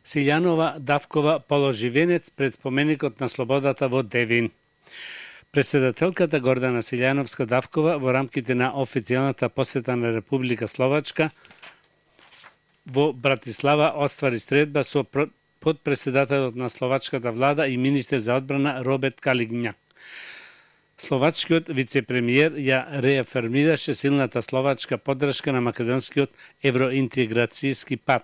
Силјанова Давкова положи венец пред споменикот на слободата во Девин. Председателката Гордана Силјановска Давкова во рамките на официјалната посета на Република Словачка во Братислава оствари средба со подпредседателот на словачката влада и министер за одбрана Роберт Калињак. Словачкиот вице-премиер ја реафирмираше силната словачка поддршка на македонскиот евроинтеграцијски пат.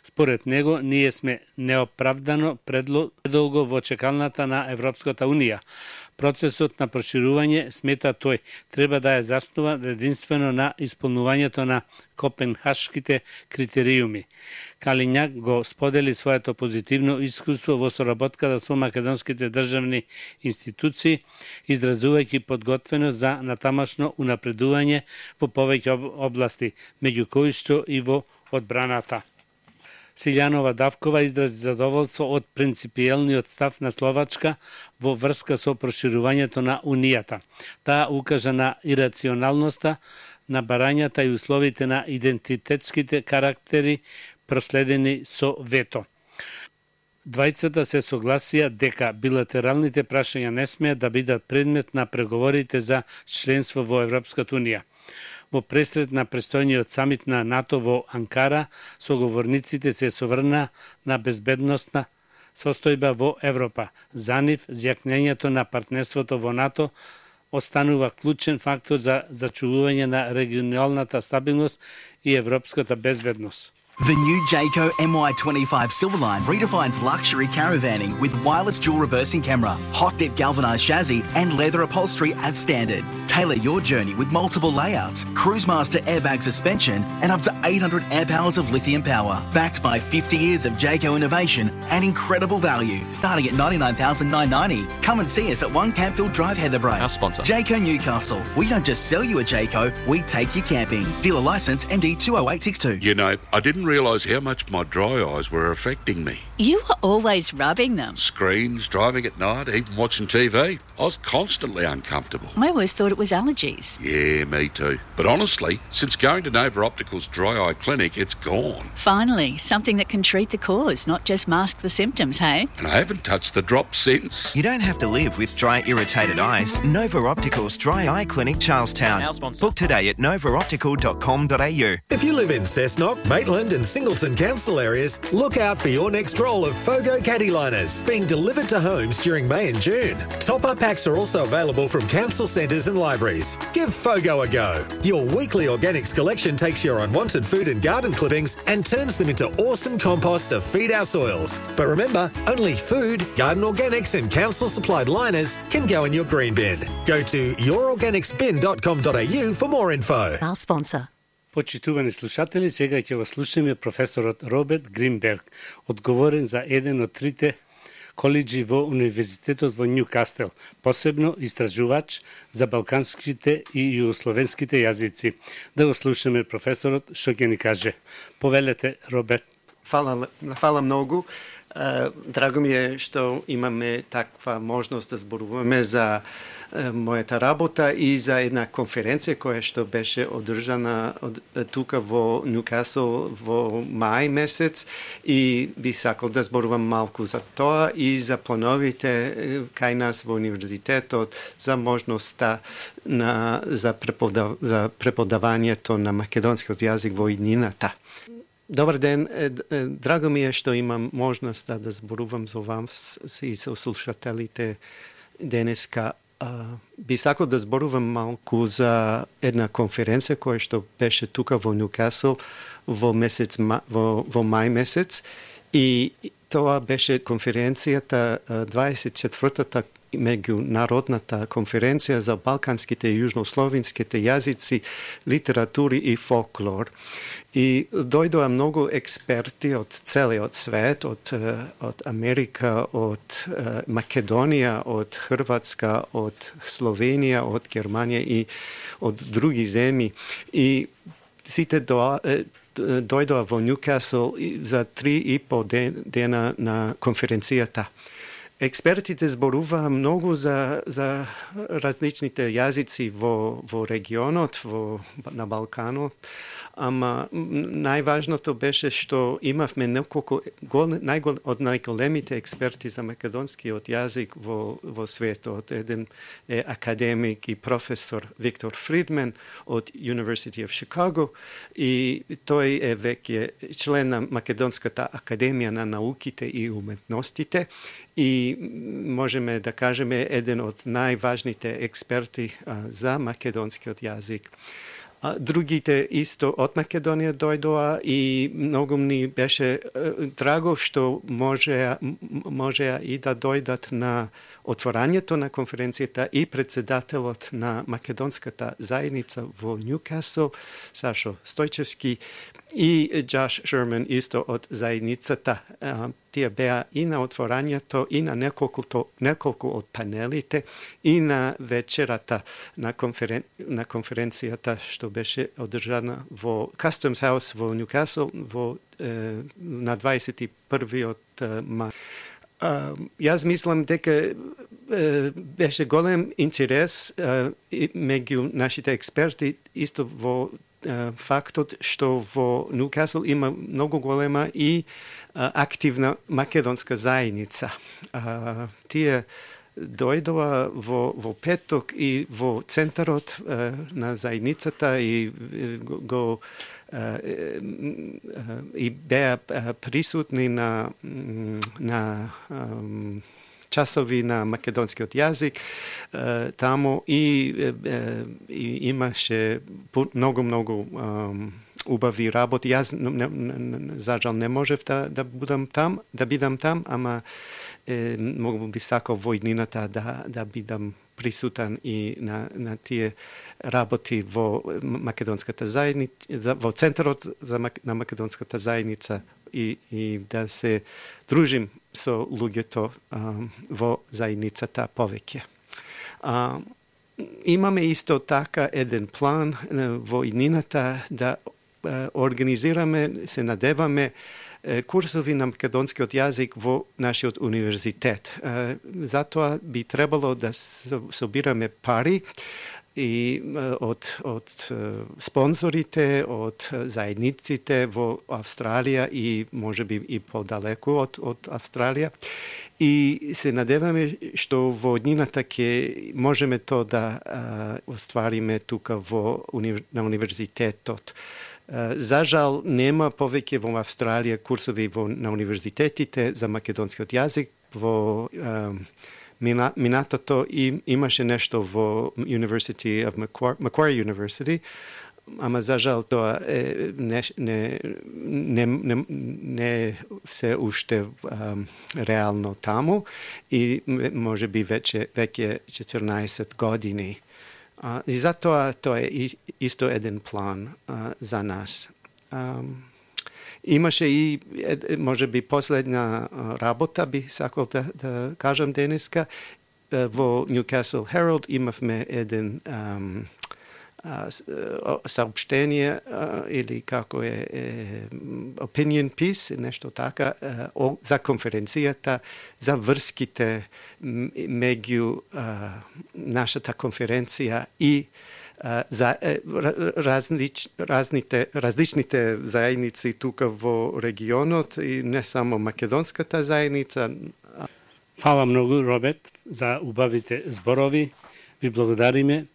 Според него, ние сме неоправдано предолго во чекалната на Европската Унија. Процесот на проширување, смета тој, треба да е заснуван единствено на исполнувањето на копенхашките критериуми. Калињак го сподели своето позитивно искуство во соработката со македонските државни институции, изразувајќи подготвеност за натамашно унапредување во повеќе области, меѓу кои што и во одбраната. Силјанова Давкова изрази задоволство од принципиелниот став на Словачка во врска со проширувањето на Унијата. Таа укажа на ирационалноста на барањата и условите на идентитетските карактери проследени со вето. Двајцата се согласија дека билатералните прашања не смеат да бидат предмет на преговорите за членство во Европската Унија. Во пресред на престојниот самит на НАТО во Анкара, соговорниците се соврна на безбедносна состојба во Европа. За нив, зјакнењето на партнерството во НАТО останува клучен фактор за зачувување на регионалната стабилност и европската безбедност. The new Jayco MY25 Silverline redefines luxury caravanning with wireless dual reversing camera, hot dip galvanized chassis, and leather upholstery as standard. Tailor your journey with multiple layouts, Cruisemaster airbag suspension, and up to 800 amp hours of lithium power. Backed by 50 years of Jayco innovation and incredible value, starting at $99,990. Come and see us at 1 Campfield Drive, Heatherbrae. Our sponsor. Jayco Newcastle. We don't just sell you a Jayco, we take you camping. Dealer license MD 20862. You know, I didn't realise how much my dry eyes were affecting me. You were always rubbing them. Screens, driving at night, even watching TV. I was constantly uncomfortable. I always thought it was allergies. Yeah, me too. But honestly, since going to Nova Optical's dry eye clinic, it's gone. Finally, something that can treat the cause, not just mask the symptoms, hey? And I haven't touched the drop since. You don't have to live with dry, irritated eyes. Nova Optical's Dry Eye Clinic, Charlestown. Our sponsor. Book today at novaoptical.com.au. If you live in Cessnock, Maitland and Singleton council areas, look out for your next roll of Fogo caddy liners being delivered to homes during May and June. Top-up packs are also available from council centres and libraries. Give Fogo a go. Your weekly organics collection takes your unwanted food and garden clippings and turns them into awesome compost to feed our soils. But remember, only food, garden organics and council-supplied liners can go in your green bin. Go to yourorganicsbin.com.au for more info. Our sponsor. Почитувани слушатели, сега ќе го слушаме професорот Роберт Гринберг, одговорен за еден од трите коледжи во Универзитетот во Нјукастел, посебно истражувач за балканските и југословенските јазици. Да го слушаме професорот што ќе ни каже. Повелете, Роберт. Фала многу. Драго ми е што имаме таква можност да зборуваме за мојата работа и за една конференција која што беше одржана тука во Нјукасл во мај месец и би сакал да зборувам малку за тоа и за плановите кај нас во универзитетот за можноста за преподавањето на македонскиот јазик во иднината. Добар ден, драго ми е што имам можност да зборувам за вас и со слушателите денеска. Би сакал да зборувам малку за една конференција која што беше тука во Нјукасл во мај месец и тоа беше конференцијата 24-та меѓународната конференција за балканските и јужнословенските јазици, литератури и фолклор. И дојдоа многу експерти од целиот свет, од Америка, од Македонија, од Хрватска, од Словенија, од Германија и од други земји. И сите дојдоа во Нјукасл за 3,5 дена на конференцијата. експертите зборуваа многу за различните јазици во регионот, на Балканот, ама најважното беше што имавме неколку од најголемите експерти за македонскиот јазик во светот. Еден е академик и професор Виктор Фридман од University of Chicago и тој е веќе член на Македонската академија на науките и уметностите и можеме да кажеме еден од најважните експерти за македонскиот јазик. Другите исто од Македонија дојдоа и многу ни беше драго што можеа и да дојдат на отворањето на конференцијата и председателот на македонската заедница во Ньюкасл, Сашо Стојчевски, и Джош Шерман исто од заедницата. Тие беа и на отворањето, и на неколку од панелите, и на вечерата на конференцијата што беше одржана во Customs House во Ньюкасл на 21-иот мај. Јас мислам дека беше голем интерес меѓу нашите експерти исто во фактот што во Ньюкасл има многу голема и активна македонска заедница. Тие дојдоа во петок и во центарот на заедницата и го и беа присутни на часови на македонскиот јазик таму и имаше многу убави работи. Јас за жал не можев да бидам там, ама многу би сакал во иднината да бидам присутен и на тие работи во македонската заедница, во центарот на македонската заедница и да се дружим со луѓето во заедницата повеќе. Имаме исто така еден план во иднината да организираме, се надеваме курсови на македонскиот јазик во нашиот универзитет. Затоа би требало да собираме пари и од спонзорите, од заедниците во Австралија и можеби и подалеку од Австралија. И се надеваме што во иднината ќе можеме то да оствариме тука на универзитетот. За жал нема повеќе во Австралија курсови на универзитетите за македонскиот јазик. Во минатото имаше нешто во University of Macquarie University, ама за жал тоа не се уште реално таму и може би веќе 14 години. И затоа тоа е исто еден план за нас. Имаше и може би последна работа би сакал да кажам денеска. Во Newcastle Herald имавме еден саопштение или како е opinion piece, нешто така, за конференцијата, за врските меѓу нашата конференција и за различните заедници тука во регионот и не само македонската заедница. Фала многу, Роберт, за убавите зборови. Ви благодариме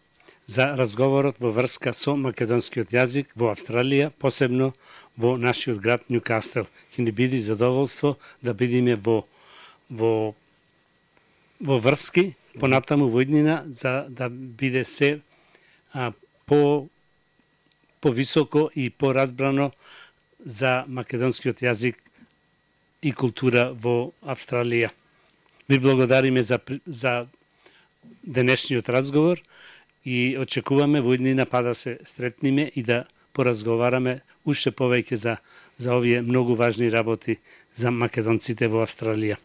за разговорот во врска со македонскиот јазик во Австралија, посебно во нашиот град Ньюкасл. Ќе ни биде задоволство да бидеме во врски понатаму во иднина за да биде се по-високо и поразбрано за македонскиот јазик и култура во Австралија. Ви благодариме за денешниот разговор и очекуваме во иднина да се сретниме и да поразговараме уште повеќе за овие многу важни работи за македонците во Австралија.